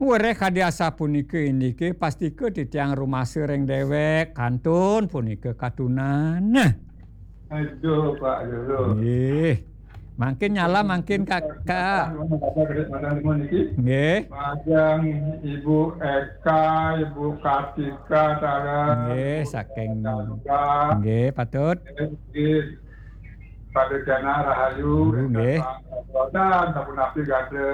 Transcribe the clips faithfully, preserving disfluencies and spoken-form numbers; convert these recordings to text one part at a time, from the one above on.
Weréh kadi asapunika indike, pastika titiang rumasa ring déwék, kantun punika katunan. Aduh, Pak Jero. Nggih. Mangkin nyala, mangkin Kakak. Nggih. Majeng Ibu Eka, Ibu Kartika, sareng. Nggih, saking. Nggih, patut. Nggih. Pada kena rahayu, nggih. Dan sapunapi gada,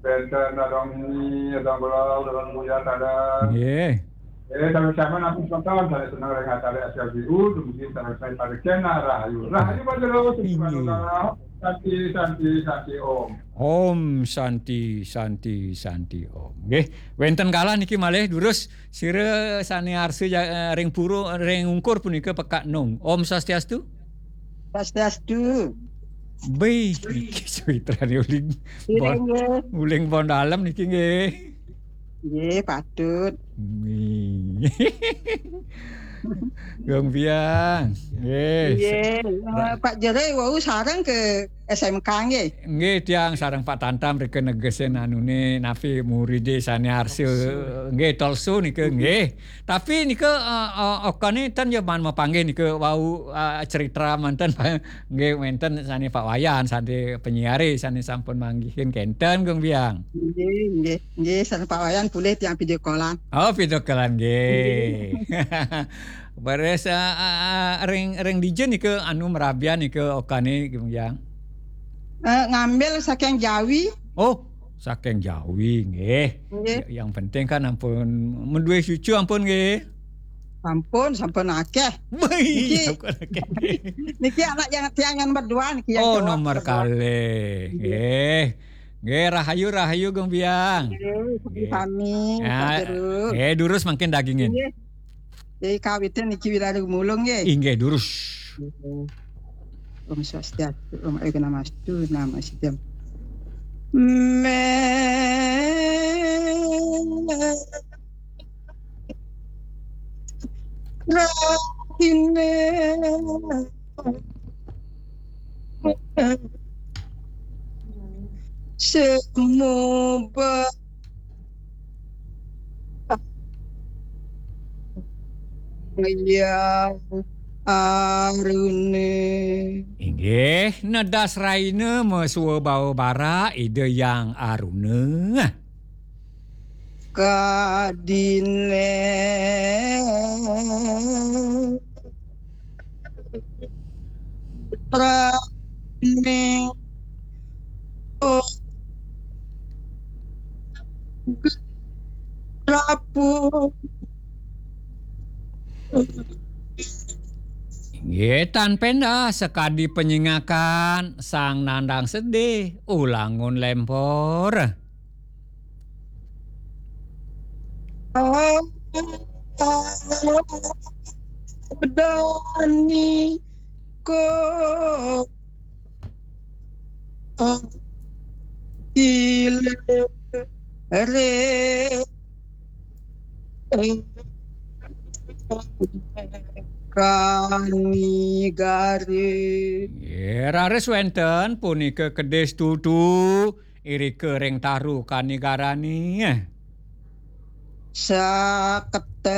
bénten Dadong Ni, Dadong Gulal, Dadong Buya, sareng. Nggih. Eh, sami-sami napi semeton, sané seneng ring acara S L B U, dumugi sareng sami pada kena rahayu. Rahayu Pak Jero, sugih. Inggih. Paduka. Santi, santi, santi, Om. Om Santi, Santi, Santi, Om. Nggih, wénten kalih niki malih durus sira sané arsa ja-, eh, ring pura, ring ungkur punika pekak nung. Om Swastiastu. Swastiastu. Béh, niki sumitrané uling. Nggih, bon-, nggih. Uling Bon Dalem niki nggih. Nggih, patut. Nggih. Gung Biang. Nggih. Nggih. Sa-, eh, ra- Pak Jero wau sareng ke S M K nggih. Nggih, tiang sareng Pak Tantam rika negesin anuné napi muridé sané arsa. Tolsu. Nggih, Tolsu nika nggih. Tapi nika, eh, eh, okane ten ya man mapanggih nika wau, eh, cerita manten nggih wénten sané Pak Wayan, sané penyiare sané sampun manggihin kénten Gung Biang. Nggih, nggih, nggih, sareng Pak Wayan polih tiang video callan. Oh, video callan nggih. Nggih. Beres, eh, eh, eh, ring, ring dija nika anu merabian nika okane Gung Biang. Eh, ngambil saking Jawi. Oh, saking Jawi nggih. Nggih. Ya, yang penting kan ampun menduwe cucu ampun nggih. Sampun, sampun akeh. Wih, niki, sampun akeh. Niki anak yang tiang yang berdua niki yang cowok. Oh, nomor berdua. Kalih. Nggih. Nggih. Nggih, rahayu, rahayu Gung Biang. Nggih, sami-sami, nggih. Pak Jero. Nggih, durus mangkin dagingin. Nggih. Nggih, kawitin niki wirari mulung nggih. Inggih, durus. Nggih. Om Swastiastu, Om Ayu Namastu, Namaste. Me Rahine semuba yang arune. Inggih, nedas raine mesua bawa barak Ida Yang Aruna. Kadine praning rapuh. Nggih, tan pendah sakadi penyingakan sang nandang sedih, ulangun lempor. Dani ko ilere kanigare. Nggih, raris wénten punika kedis tutu irika ring taru kanigarane. Saketa